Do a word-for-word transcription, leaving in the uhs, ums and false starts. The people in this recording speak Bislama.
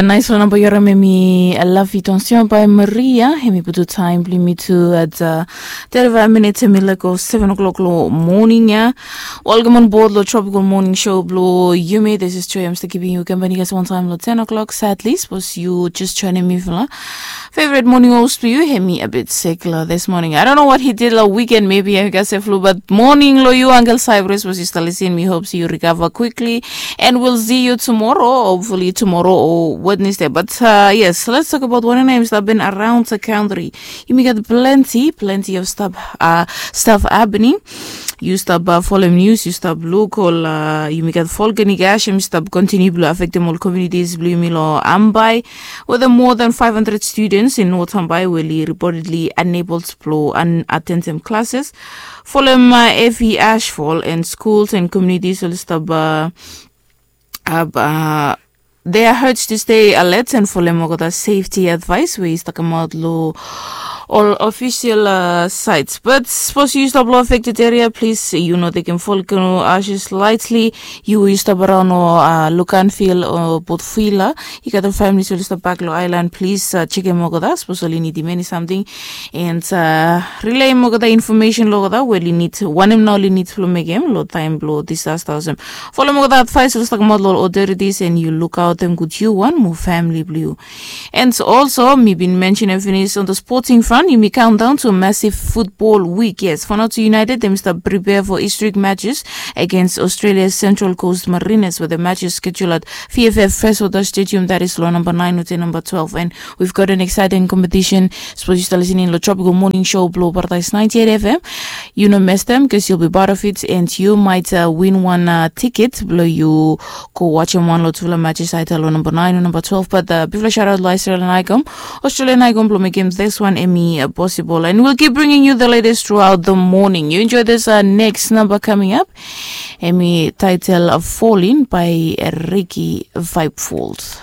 Naispela namba yu harim em i Lavi Tonsion by Maria. Em i putum taim bilong yumi tu at thirty-five minutes em i laik of seven o'clock long morning ya. Welcome on board long Tropical Morning Show bilong yumi. This is Joy. I'm still keeping you company guys one time long ten o'clock. Sadly, suppose you just joining me for favorite morning host bilong yu, em i a bit sick la this morning. I don't know what he did la weekend, maybe I got a flu, but morning lo yu, Uncle Cyrus, was you still listening? We hope you recover quickly, and we'll see you tomorrow, hopefully tomorrow or Wednesday. But uh, yes, let's talk about what names that have been around the country. You may get plenty, plenty of stuff, uh, stuff happening. You stop uh, follow news, you stop local, uh, you may get volcanic ash, you stop continue blue affect them all communities, blue milo ambai. With more than five hundred students in North Hambai were reportedly unable to plo and attend them classes. Folem uh, heavy ashfall and schools and communities will stop uh, uh, uh, they are urged to stay alert and folem okota safety advice wey is talking about lo all official uh, sites. But suppose you stop lo affected area, please you know they can follow ashes lightly. You will stop around or uh, look and feel or both feel uh, you got the families will stop back lo island, please uh, check him okota. Suppose oli need many something and uh, relay him okota information lo okota. Well, you need one him now you need to make him lo time lo disaster. Follow him okota advice lo talking about lo authorities and you look out them good you one more family blue. And also, mi bin mention and finish on the sporting front, you may count down to a massive football week. Yes, Fanato United, they start prepare for historic matches against Australia's Central Coast Mariners, where the match is scheduled at V F F Freshwater Stadium, that is law number nine or number twelve. And we've got an exciting competition. Suppose you start listening to the Tropical Morning Show, Blow Paradise ninety-eight F M. You know, miss them because you'll be part of it, and you might uh, win one uh, ticket. Blow you go watch him one lot of matches. I tell number nine or number twelve. But uh, before shout out Australian Icon, Australian Icon will make him this one Emmy uh, possible. And we'll keep bringing you the latest throughout the morning. You enjoy this uh, next number coming up. Emmy title of Falling by Ricky Vibefold.